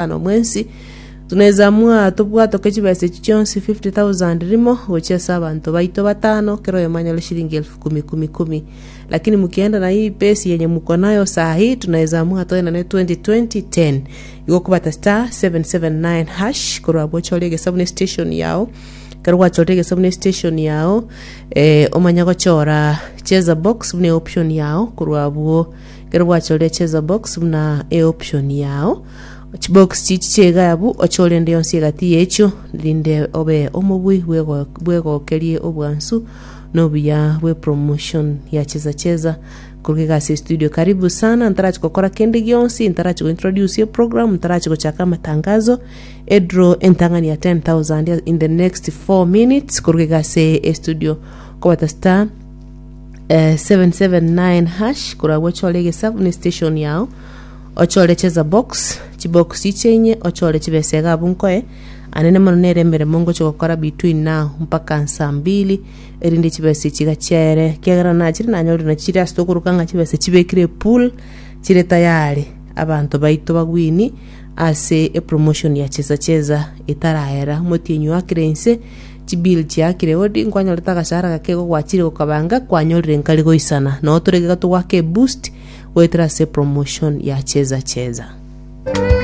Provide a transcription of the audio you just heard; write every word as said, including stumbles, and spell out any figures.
Ano mwensi tunaweza amua tobwatoke chibesa echi chionsi fifty thousand rimo gochia ase abanto baito batano kera oyomo anyore shilingi elfu kumi kumi kumi lakini mukienda na hii pesi yenye muko nayo saa hii tunaweza amua toenane twenty twenty ten igo okobata star seven seven nine hash korwa abwo ochore egesabu ne station yao ekero gwachorire egesabu ne station yao eh, omanye gochora cheza box buna eoption yao korwa abwo ekero gwachorire cheza box buna eoption yao Chibox chichi chi'egaya abwo, ochore ende yonsi egati y'echio, rinde obe omobui bwego- bwegokerie obwansu na obuya bw'epromotion ya Cheza Cheza korwa iga ase estudio. Karibu sana, ntarachi gokora kende gionsi, ntarachi gointroduce eprogram, ntarachi gochaka amatangazo, edraw entang'ani ya ten thousand in the next four minutes korwa iga ase estudio. Kobata star eh, seven seven nine hash korwa abwo ochore egesabu ne station yao Ochore cheza box, chibox chiche inye, ochore chibesa iga abwo nkoe, anene mono nere emeremo ngochia gokora between now mpaka nsaa mbili, erinde chibesa echi iga chiaere, ekiagera nachire nanyorire nachi chire ase tokoroka ng'a chibesa chibekire epool, chire tayari abanto baito bagwini ase epromotion ya cheza cheza etaraera. Omotienyi oakire inse, chibill chiakire hodi, nkwanyorete agashahara gake igo gwachire gokabanga, kwanyorire nkari goisana. Noo tore iga togoaka eboost, goetera ase promotion ya cheza cheza.